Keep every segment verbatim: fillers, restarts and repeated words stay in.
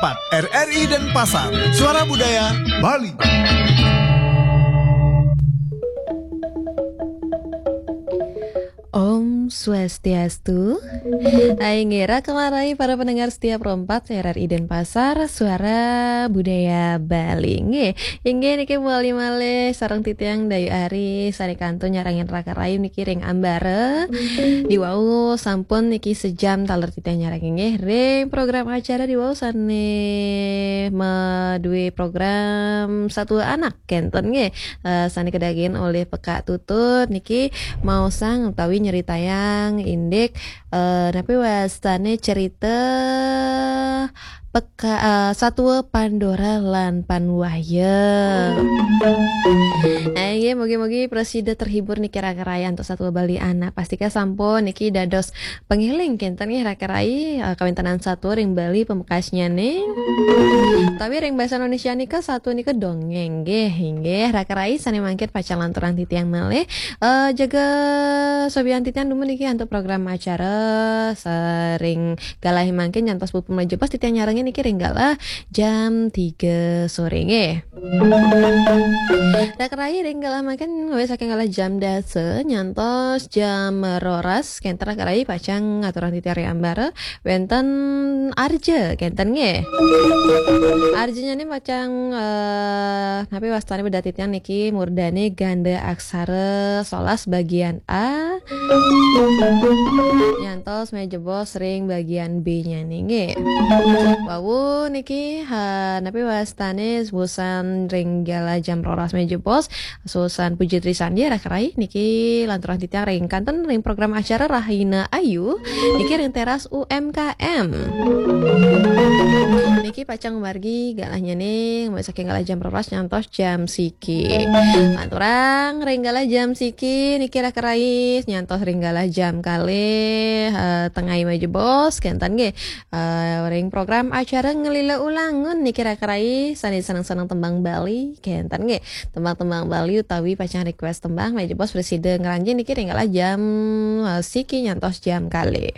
empat, R R I Denpasar, Suara Budaya Bali. Om Swastiastu. Ai nggih, raka rai para pendengar setia Pro empat R R I Denpasar, Suara Budaya Bali. Nggih, inggih niki bali malih sareng titiang Dayu Ari, sane kantun nyarengin raka rai niki ring ambara. Diwau sampun niki sejam taler titiang nyarengin nggih ring program acara diwau sane madue program Satua Anak kenten nggih. Eh, sane kedagin olih Pekak Tutut niki maosang utawi nyeritayang indik, eh, napi wastane cerita Peka, eh, Satua Pandora lan Panwaya. Nah, nggih, mugi-mugi prasida terhibur niki raka rai antuk Satua Bali Anak. Pastika sampun niki dados pangeling kenten nggih raka rai, eh, kawintenan satua ring Bali pamekasnyane. Tapi ring basa Indonesia nika satua nika dongeng nggih, inggih raka rai sane mangkin pacang lanturang titiang malih. Eh, jaga sobian titiang dumun niki antuk program acara saring galah mangkin nyantos puput mlajah pas titiang nyarengin niki ring galah jam tiga sore nggih. Raka rai ring galah mangkin ngawit saking galah jam dasa nyantos jam roras kenten raka rai pacang ngaturang titiang ring ambara wenten arja kenten nggih. Arjanyane pacang, eh, napi wastane bedah titiang niki murdane ganda aksara solas bagian A nyantos mejebos ring bagian B-nyane nggih. Wau niki, ha, napi wastane wusan ring galah jam roras mejebos, susan Puji Trisandi raka rai niki lanturang titiang ring kantun ring program acara Rahina Ayu niki ring teras U M K M. Niki pacang margi galahnyane mulai saking galah jam roras nyantos jam siki. Lanturang ring galah jam siki niki raka rai nyantos ring galah jam kalih, eh, tengai mejebos kenten nggih. Eh, ring program acara Ngelila Ulangun niki raka rai sane seneng-seneng tembang Bali kenten nggih. Tembang-tembang Bali utawi pacang request tembang mejebos prasida ngranjing niki ring galah jam, eh, siki nyantos jam kalih.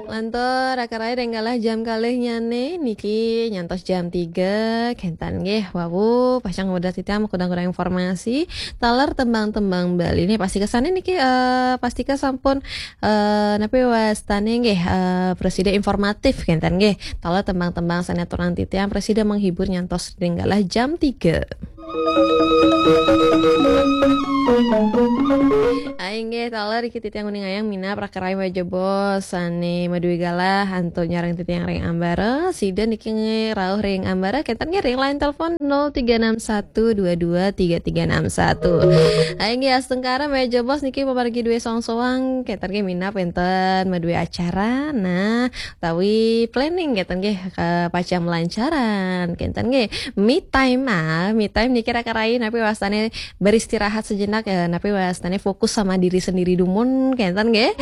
Lantur raka rai ring galah jam kalihnyane niki nyantos jam tiga kenten nggih. Wau pacang wedah titiang makudang-kudang informasi taler tembang-tembang Bali. Nih pastika sane niki, eh, pastika sampun, eh, napi wastane nggih, eh, prasida informatif kenten nggih. Taler tembang-tembang sane aturang titiang prasida menghibur nyantos ring galah jam tiga. Ai nggih, taler iki titiang nguningayang minab raka rai mejebos sane madue galah antuk nyarengin titiang ring ambara. Sida niki rauh ring ambara kenten nggih ring line telepon nol tiga enam satu dua dua tiga tiga enam satu. Ai nggih, astungkara mejebos niki pamargi due soang-soang kenten nggih minab wenten madue acara. Nah, utawi planning kenten nggih, eh, pacang melancaran kenten nggih. Me time, ah, me time niki raka rai napi wastane beristirahat sejenak, eh, napi wastane fokus sama diri sendiri dumun kenten nggih.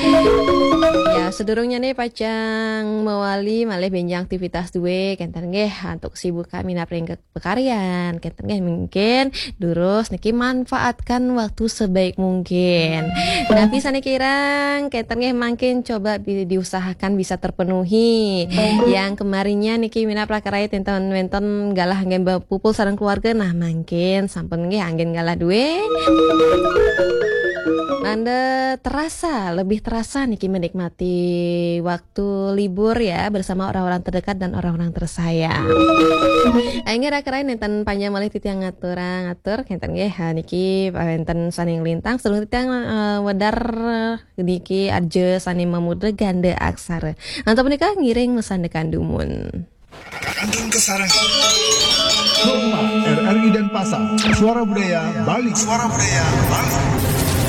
Ya, sedurungnye nih pacang mawali malih benjang aktivitas due kenten nggih antuk sibuk kami napring ke pekaryan kenten nggih mungkin durus niki manfaatkan waktu sebaik mungkin. Napi sane kirang kenten nggih mangkin coba bi-, diusahakan bisa terpenuhi. Yang kemarinnya niki minab raka rai enten wenten galah anggen bepupul sareng keluarga, nah mangkin sampun nggih anggen galah due. Nanda terasa, lebih terasa niki menikmati waktu libur ya bersama orang-orang terdekat dan orang-orang tersayang. Inggih raka rai nenten panjang malih titiang ngaturang atur kenten nggih. Ha, niki wenten sane nglintang sedurung titiang, eh, wedar niki arja sane mamurda ganda aksara. Antuk punika ngiring masandekan dumun. Kantun kasarengin. Pro empat, R R I Denpasar, Suara Budaya Bali. Suara Budaya Bali.